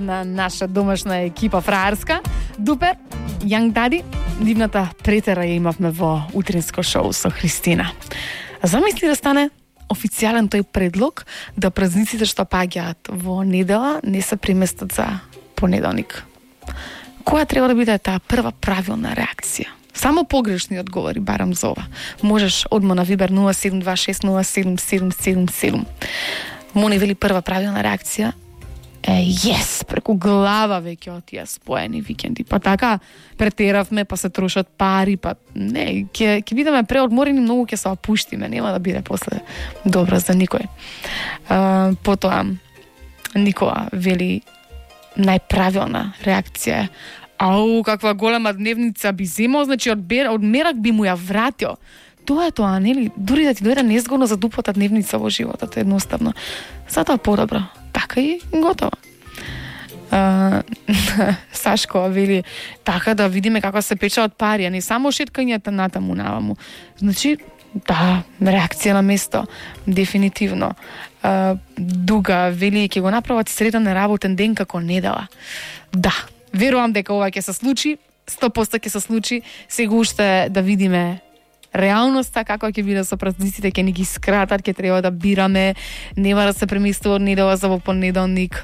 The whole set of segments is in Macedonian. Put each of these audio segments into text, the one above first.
на наша домашна екипа фраерска. Дупер, Young Daddy, дивната претера ја имавме во утринско шоу со Христина. Замисли да стане официјален тој предлог да празниците што паѓаат во недела не се преместат за понеделник. Која треба да биде таа прва правилна реакција? Само погрешни одговори барам за ова. Можеш одма на Вибер 0726077777. Мони вели прва правилна реакција yes, преку глава веќе отија споени викенди. Па така претеравме, па се трошат пари, па не, ќе бидеме преодморени, многу ќе се опуштиме, нема да биде после добро за никој. Потоа Никола вели најправилна реакција. Ау, каква голема дневница би земал, значи од мерак би му ја вратил. Тоа е тоа, нели? Дури да ти дојде незгодно за дуплата дневница во животот, едноставно. Затоа подобро. Така и готово. Сашко вели така да видиме како се печаат пари, а не само шеткањата натаму наваму. Значи, да, реакција на место, дефинитивно. Дуга вели ќе го направат среден работен ден како недела. Да, верувам дека ова ќе се случи, 100% ќе се случи. Сега уште да видиме реалноста, како ќе биде со празниците, ќе ни ги скратат, ќе треба да бираме, нема да се преместува од недела за во понеделник.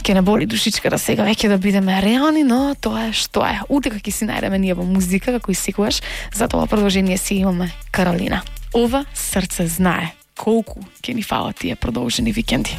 Ќе не боли душичка да сега веќе да бидеме реални, но тоа е што е. Утека ќе си најдеме ние во музика, како и секогаш, за тоа продолжение си имаме Каролина. Ова срце знае колку ќе ни фалат тие продолжени викенди.